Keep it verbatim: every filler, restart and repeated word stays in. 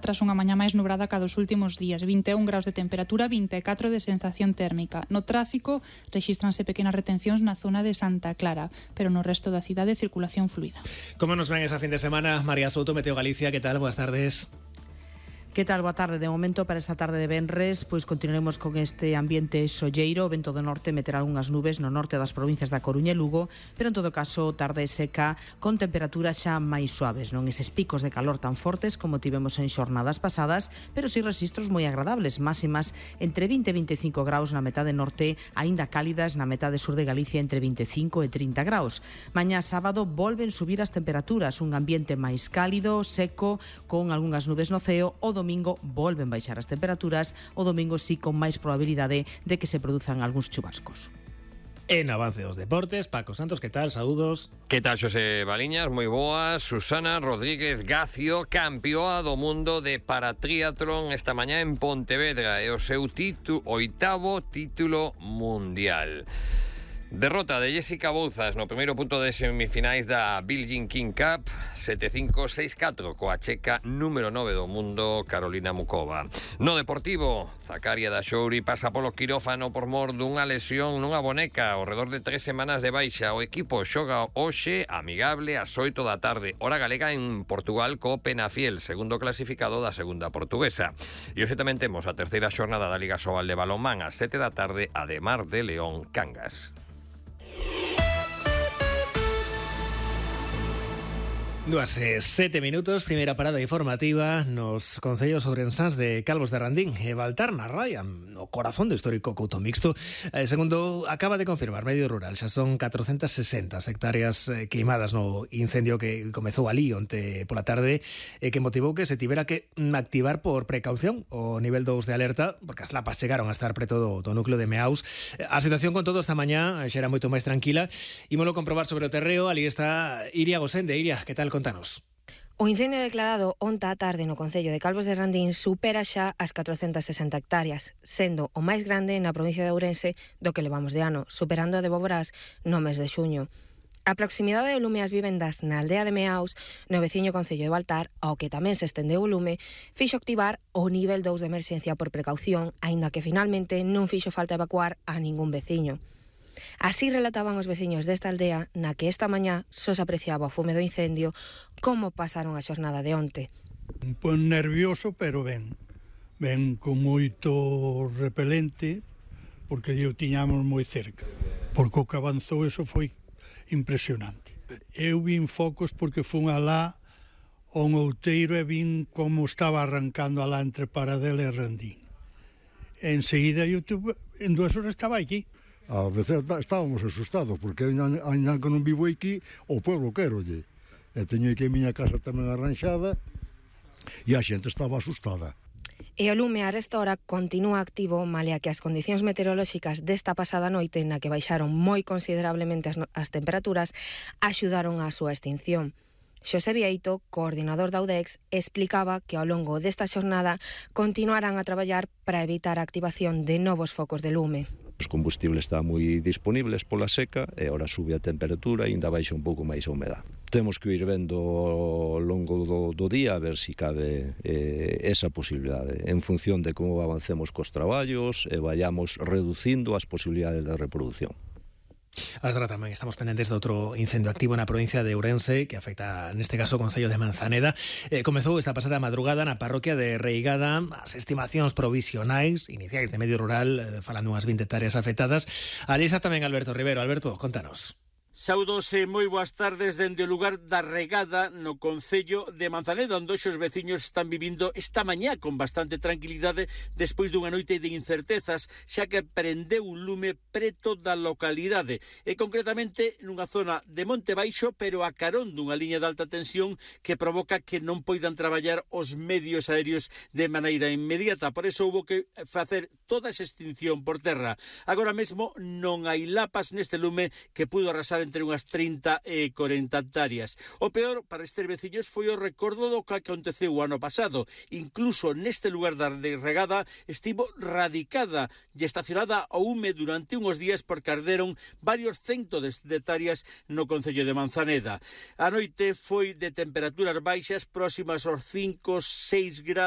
tras unha mañá máis nubrada ca dos últimos días. vinte e un graus de temperatura, vinte e catro de sensación térmica. No tráfico rexístranse pequenas retencións na zona de Santa Clara, pero no resto da cidade circulación fluida. Como nos ven esa fin de semana? María Souto, Meteo Galicia, ¿qué tal? Buenas tardes. Que tal? Boa tarde. De momento, para esta tarde de venres, pois continuaremos con este ambiente solleiro. O vento do norte meterá algunhas nubes no norte das provincias da Coruña e Lugo, pero en todo caso tarde seca con temperaturas xa máis suaves, non eses picos de calor tan fortes como tivemos en xornadas pasadas, pero si registros moi agradables, máximas entre vinte e vinte e cinco graus na metade norte, aínda cálidas na metade sur de Galicia entre vinte e cinco e trinta graus. Mañá sábado volven subir as temperaturas, un ambiente máis cálido, seco, con algunhas nubes no ceo. O domingo volven baixar as temperaturas, o domingo sí con máis probabilidade de que se produzan algúns chubascos. En avance dos deportes, Paco Santos, ¿qué tal? Saúdos. Que tal, Xosé Baliñas? Moi boas. Susana Rodríguez Gacio, campeoa do mundo de paratriatlón esta mañá en Pontevedra, e o seu título, oitavo título mundial. Derrota de Jessica Bouzas no primeiro punto de semifinais da Billie King Cup, sete cinco seis catro, coa checa número nove do mundo, Carolina Mukova. No deportivo, Zakaria da Xouri pasa polo quirófano por mor dunha lesión nunha boneca ao redor de tres semanas de baixa. O equipo xoga hoxe amigable ás oito da tarde, hora galega, en Portugal co Penafiel, segundo clasificado da segunda portuguesa. E hoxe tamén temos a terceira xornada da Liga Sobal de Balonmán ás sete da tarde, a de Mar de León Cangas. Dúas e sete minutos, primeira parada informativa nos concellos ourensáns de Calvos de Randín e Baltar na Raia, no corazón do histórico Couto Mixto. Eh, segundo acaba de confirmar Medio Rural, xa son catrocentas sesenta hectáreas eh, queimadas no incendio que comezou ali onte pola tarde e eh, que motivou que se tivera que activar por precaución o nivel dous de alerta, porque as lapas chegaron a estar preto do, do núcleo de Meaus. Eh, a situación con todo esta mañá xa era moito máis tranquila. Ímolo comprobar sobre o terreo. Ali está Iria Gosende. Iria, que tal? Contanos. O incendio declarado onta á tarde no concello de Calvos de Randín supera xa as catrocentas sesenta hectáreas, sendo o máis grande na provincia de Ourense do que levamos de ano, superando a de Boborás no mes de xuño. A proximidade do lume ás vivendas na aldea de Meaus, no veciño concello de Baltar, ao que tamén se estendeu o lume, fixo activar o nivel dous de emerxencia por precaución, aínda que finalmente non fixo falta evacuar a ningún veciño. Así relataban os veciños desta aldea, na que esta mañá só se apreciaba o fume do incendio, como pasaron a xornada de onte. Un pouco nervioso, pero ben. Ben con moito repelente, porque o tiñamos moi cerca. Porque o que avanzou, eso foi impresionante. Eu vin focos porque fun alá ao outeiro e vin como estaba arrancando alá entre Paradela e Randín. Enseguida, eu tuve, en dúas horas estaba aquí. A veces estábamos asustados, porque ainda que non vivo aquí, o pueblo querolle. E teño aquí a miña casa tamén arranxada, e a xente estaba asustada. E o lume a esta hora continúa activo, malia que as condicións meteorolóxicas desta pasada noite, na que baixaron moi considerablemente as, as temperaturas, axudaron á súa extinción. Xosé Vieito, coordinador da UDEX, explicaba que ao longo desta xornada continuarán a traballar para evitar a activación de novos focos de lume. Os combustibles están moi disponibles pola seca e ora sube a temperatura e ainda baixa un pouco máis a humedad. Temos que ir vendo ao longo do, do día a ver se si cabe eh, esa posibilidade en función de como avancemos cos traballos e vayamos reducindo as posibilidades de reproducción. Agora tamén estamos pendentes de outro incendio activo na provincia de Ourense que afecta, neste caso, o concello de Manzaneda. Eh, comezou esta pasada madrugada na parroquia de Reigada. As estimacións provisionais iniciais de Medio Rural eh, falan dunhas vinte hectáreas afectadas. Ali está tamén Alberto Rivero. Alberto, contanos. Saudos e moi boas tardes dende o lugar da Regada no concello de Manzaneda, onde os veciños están vivindo esta mañá con bastante tranquilidade despois dunha noite de incertezas, xa que prendeu un lume preto da localidade e concretamente nunha zona de Monte Baixo, pero a carón dunha liña de alta tensión que provoca que non poidan traballar os medios aéreos de maneira inmediata. Por eso houve que facer toda esa extinción por terra. Agora mesmo non hai lapas neste lume que pudo arrasar en entre unhas trinta e corenta hectáreas. O peor para estes veciños foi o recordo do que aconteceu o ano pasado. Incluso neste lugar da regada estivo radicada e estacionada ao hume durante unhos días porque arderon varios centos de hectáreas no concello de Manzaneda. A noite foi de temperaturas baixas próximas aos cinco, seis grados.